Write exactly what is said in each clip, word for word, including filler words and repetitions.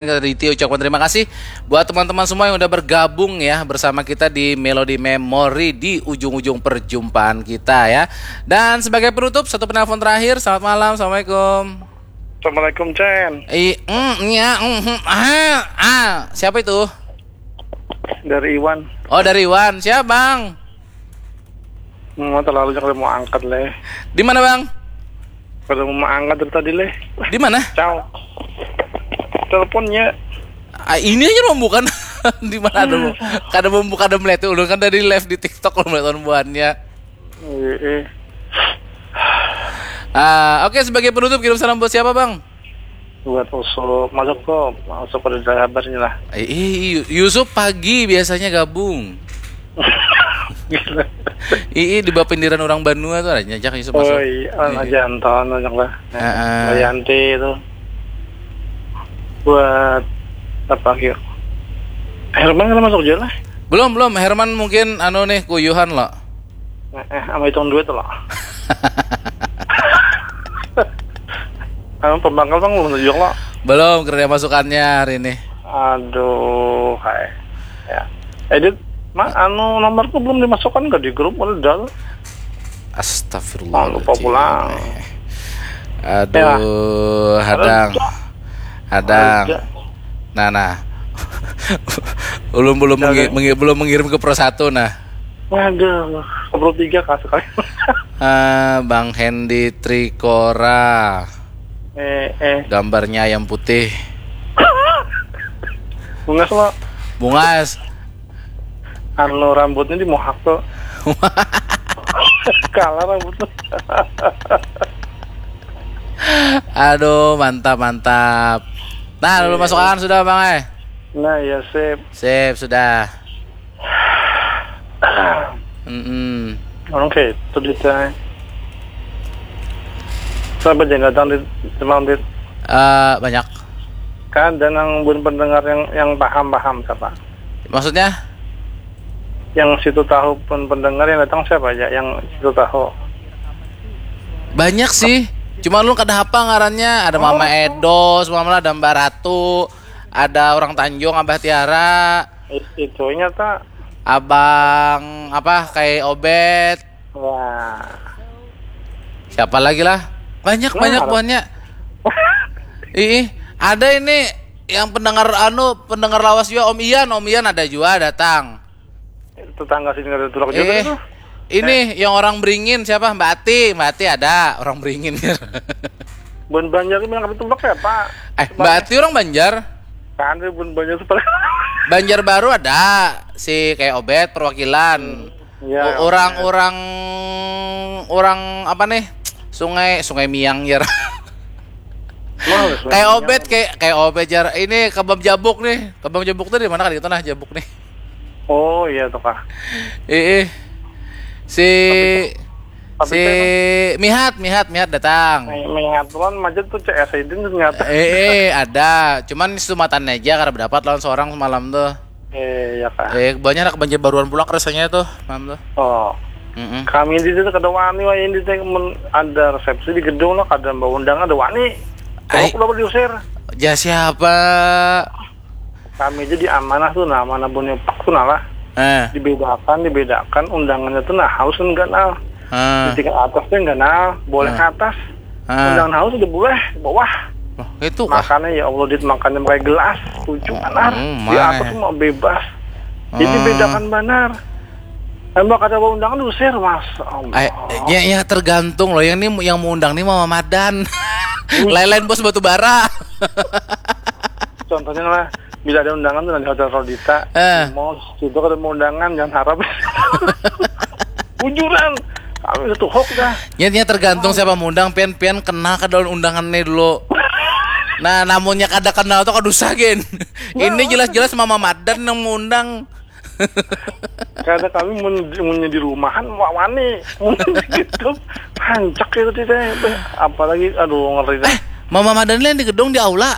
Raditya ucapkan terima kasih buat teman-teman semua yang udah bergabung ya bersama kita di Melody Memory di ujung-ujung perjumpaan kita ya. Dan sebagai penutup, satu penelpon terakhir. Selamat malam, assalamualaikum. Assalamualaikum, Cen. I, mm, ya, mm, hmm, ah, ah. Siapa itu? Dari Iwan. Oh, dari Iwan. Siap, Bang? Mau terlalu jangan mau angkat leh. Di mana, Bang? Kalau mau angkat dari tadi leh. Di mana? Ciao. Teleponnya. Ah, ini aja belum bukan. Di mana ada mau? Kada mau buka, ada melihat ulun kan dari live di TikTok, ulun melihat buhannya. Eh, eh. Ah, oke, sebagai penutup, kirim salam buat siapa, Bang? Buat Usup, masuk kok, masuk pada kabarnya lah. Eh, eh, Yu- Yusuf pagi biasanya gabung. Gila. Ii di bapindiran orang Banua tuh ada nyajak Yusuf masuk. Oh iya, anak jantan anak lah. Heeh. Bayanti itu. Buat apa, Kyo? Herman kan masuk juga lah. Belum, belum. Herman mungkin anu nih, kuyuhan loh. Eh, eh, sama hitung duit loh. Anu pembangkal, Bang, belum tunjuk loh. Belum, kerja masukannya hari ini. Aduh, hai. Ya. Edit, Mak, anu nomorku belum dimasukkan ke di grup, udah dal. Astagfirullah. Oh, lupa pulang. Aduh, hadang. Hadang. Ada. Nah, nah. Ulun belum mengi- mengi- belum mengirim ke Pro Satu nah. Waduh, Pro Tiga kah sekali. Ah, Bang Hendy Trikora. Eh, eh, Gambarnya ayam putih. bungas lo. Bungas. Anu rambutnya dimohak tuh. Kalah rambutnya. Aduh, mantap, mantap. Nah, lalu masuk akan sudah, Bang eh. Nah, ya sip. Sip, sudah. Mm-mm. Oke, itu detail. Siapa yang datang di semalam di Eh, banyak. Kan ada nang bun pendengar yang yang paham-paham siapa? Maksudnya? Yang situ tahu pun pendengar yang datang siapa aja? Yang situ tahu. Banyak sih. Cuma lu kada hafal ngarannya. Ada Mama Edo, semua ada Mbak Ratu, ada orang Tanjung, Abah Tiara, It- Itunya tak. Abang apa kayak Obet. Wah. Siapa lagi lah? Banyak, banyak buahnya. Ih, ada ini yang pendengar anu, pendengar lawas juga, Om Ian. Om Ian ada juga datang. Tetangga sini ada tulak juga Eh, tuh. Ini yang orang Beringin siapa? Mbak Ati. Mbak Ati ada orang Beringin. Bun Banjar ini yang tulak siapa? Eh, Mbak Ati orang Banjar. Kan dia Bun Banjar tuh paling. Banjar Baru ada si kayak Obet perwakilan. Ya, O- orang orang orang apa nih? Sungai Sungai Miang jar. Males, Kayak Bang. Obet kayak kayak Obet jar. Ini Kebab Jabuk nih. Kebab Jabuk tuh di mana kan itu nah Jabuk nih. Oh iya tuh kah. Eh, eh. Si Tapi si Mihat Mihat Mihat datang. Mengaturan macet tuh C S I D ternyata. Eh, eh, ada. Cuman sumatannya aja karena berdapat lawan seorang semalam tuh. Eh ya kah. Eh, banyak anak Banjar Baruan pula rasanya tuh, malam tuh. Oh. Mm-mm. Kami di situ kada wani wah ini teh men ada resepsi di gedung lah kada bawa undangan ada wani. Ai. Aku dapat diusir. Ya siapa? Kami aja di amanah tuh nah mana punya pak tuh nah lah. Eh, Dibedakan dibedakan undangannya tuh nah harus enggak nah. eh. Di tingkat atas tuh enggak nah boleh ke atas. Ah. Undangan harus udah boleh ke bawah. Loh, itu kah? Makannya ya Allah dit makannya pakai gelas tujuh Oh, benar oh, di atas mah. Semua bebas. Jadi Hmm. Bedakan benar. Emang kada mau undangan diusir mas. Allah. Ay, ya, ya tergantung loh. Yang ini yang mau undang nih Mama Madan. Lain-lain bos batu bara. Contohnya lah bila ada undangan tuh di hotel Rodita, Eh. Di mall, situ kada mau undangan jangan harap. Bujuran, kami itu hoax dah. Ya, ya tergantung siapa mau undang pian pian kenal kada lawan undangan nih dulu. Nah, namunnya kada kenal tuh kada usah gen. Ini jelas-jelas Mama Madan yang mau undang. Karena kami mun munnya di rumahan wa- wani, mun gitu hancak itu teh. Apalagi aduh ngeri dah. Mama Madan lain di gedung di aula.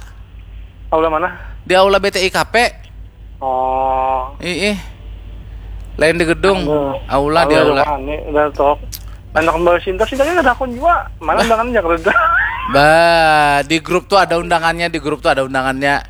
Aula mana? Di aula B T I K P. Oh, Ih, ih. Lain di gedung. Aduh. Aula di aula. Wani udah tok. Anak Mbak Sinta sih tadi ada akun juga. Mana undangannya kerja? Bah, di grup tuh ada undangannya, di grup tuh ada undangannya.